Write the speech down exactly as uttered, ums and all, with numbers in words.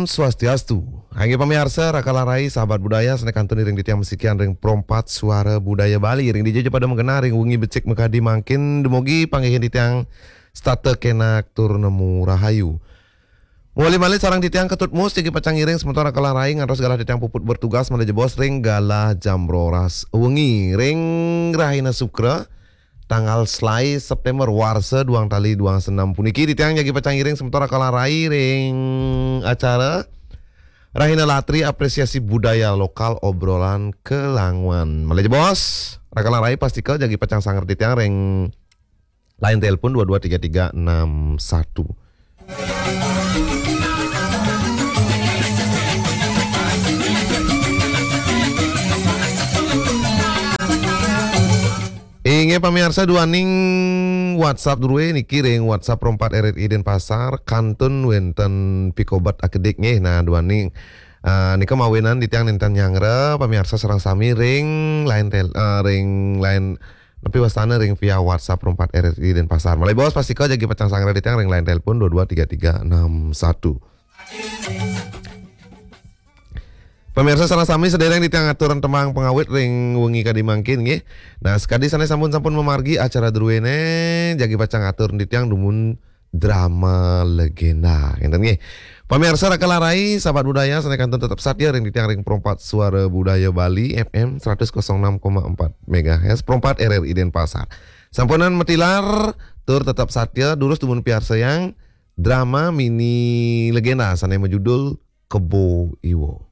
Swastiastu. Inggih pamiarsa, Raka Larai, sahabat budaya, sané kantun iring titiang masikian ring Pro empat Suara Budaya Bali. Ring dija ja pada magenah ring wengi becik makadi mangkin, dumugi panggihin titiang setata kénak tur nemu rahayu. Malih-malih sareng titiang Ketut Mus, jagi pacang ngiring semeton Raka Larai ngantos galah titiang puput bertugas malih jebos ring galah jam roras wengi ring rahina Sukra, tanggal selaé September, warsa duang tali duang senam puniki, titiang jagi pacang ngiring semeton Raka Larai ring acara Rahina Latri, Apresiasi Budaya Lokal, Obrolan Kelanguan. Malih jebos, Raka Larai pastika jagi pacang sanggra titiang ring line telepon dua dua tiga tiga enam satu. Inggih pamiarsa, duaning WhatsApp drué niki ring WhatsApp Pro empat R R I Denpasar, kantun wénten pikobet akedik nggih. Nah, duaning, eh, nika mawinan titiang nénten nyanggra pamiarsa sareng sami ring line tel-, eh, ring line, napi wastana, ring via WhatsApp Pro empat R R I Denpasar. Malih jebos, pastika jagi pacang sanggra titiang ring line telepon dua dua tiga tiga enam satu. Pamiarsa sareng sami, sadéréng titiang ngaturang tembang pangawit ring wengi kadi mangkin nggih. Nah, sakadi sané sampun-sampun mamargi acara druéné, jagi pacang atur titiang dumun drama legenda. Ngénten nggih. Pamiarsa Raka Larai, sahabat budaya, sané kantun tetep satia ring titiang ring Pro empat Suara Budaya Bali, F M seratus kosong enam koma empat megahertz, Pro empat R R I Denpasar. Sampunang matilar, tur tetep satia, durus dumun piarsayang drama mini legenda sané majudul Kebo Iwa.